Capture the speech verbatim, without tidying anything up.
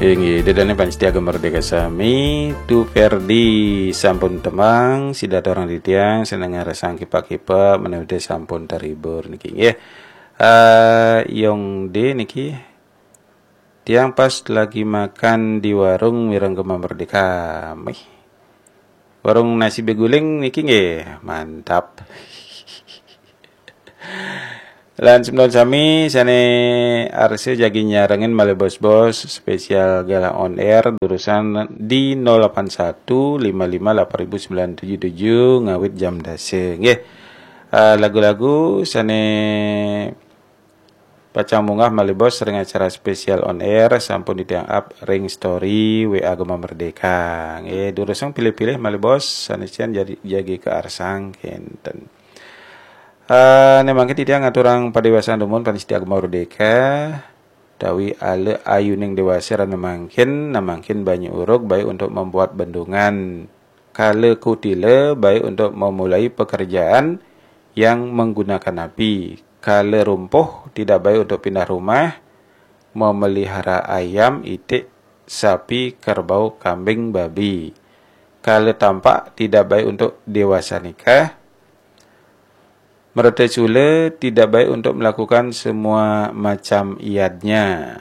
Inggih, ida dané pamiarsa Gema Merdeka sami, Tu Ferdi sampun tembang, sida aturang titiang, sané ngarsang kipak-kipak, menawi sampun terhibur niki nggih. Eh, Yong D niki, tiang pas lagi makan di warung mireng Gema Merdeka. Mih. Warung nasi beguling niki nggih, mantap. Lan semeton sami sané arsa jagi nyarengin malih bos-bos spesial Gala on Air, durusang di nol delapan satu lima lima delapan ribu sembilan tujuh tujuh ngawit jam dasa. Nggih. Eh, lagu-lagu sané pacang munggah malih bos ring acara spesial on air sampun titiang up ring story W A Gema Merdeka. Nggih, durusang pilih-pilih malih bos, sané sian jagi, jagi kaarsang kénten. Eh, né mangkin titiang ngaturang padéwasaan dumun pamiarsa Gema Merdeka. Tawi ala ayuning déwasa ring mangkin, nah mangkin banyu urug baik untuk membuat bendungan. Kala kutila baik untuk memulai pekerjaan yang menggunakan api. Kala rumpuh tidak baik untuk pindah rumah, memelihara ayam, itik, sapi, kerbau, kambing, babi. Kala tampak tidak baik untuk déwasa nikah, merta cula tidak baik untuk melakukan semua macam iadnya.